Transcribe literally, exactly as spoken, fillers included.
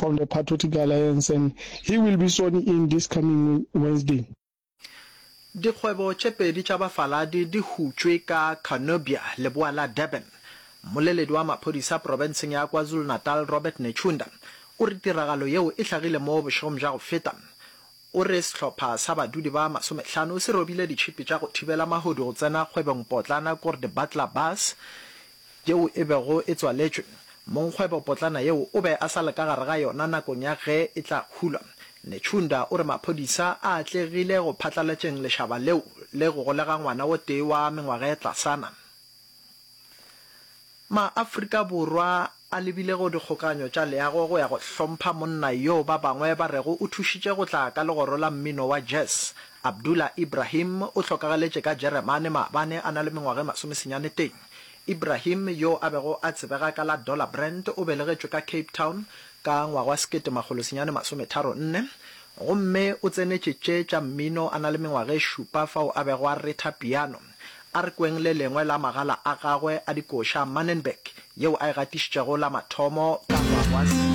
from the Patriotic Alliance and he will be sworn in this coming Wednesday. Dikgwebo tše pedi tša bafaladi di hutšwe ka Cornubia, leboa la Durban. Mmoleledi wa maphodisa profenseng ya KwaZulu-Natal Robert Netshiunda o re tiragalo yeo e hlagile mo bošegong bja go feta. O re sehlopha sa badudi ba masomehlano se robile ditšhipi tša go thibela mahodu go tsena kgwebongpotlana Korde Butler Bus yeo e bego e tswaletšwe. Mongkgwebopotlana yeo o be a sa le ka gare ga yona nakong ya ge e tla hulwa. Netshiunda o re maphodisa a atlegile go phatlalatšeng lešaba leo le go golega ngwana o tee wa mengwaga e tlasana. Ma-Afrika Borwa a lebile go dikgokaganyo tša leago go ya go hlompha monna yoo ba bangwe ba rego o thušitše go tla ka legoro la mmino wa jazz. Abdullah Ibrahim o hlokagaletše ka Jeremane maabane a na le mengwaga e masomesenyane teng. Ibrahim, yo a bego a tsebega ka la Dollar Brand, o belegetšwe ka Cape Town ka ngwaga wa sekete makgolo senyane masometharo nne gomme o tsenetše tše tša mmino a na le mengwaga e šupa fao a bego a retha piano. A re kweng le lengwe la magala a gagwe a dikoša, Mannenberg, yeo a e gatišitšego la mathomo ka ngwaga wa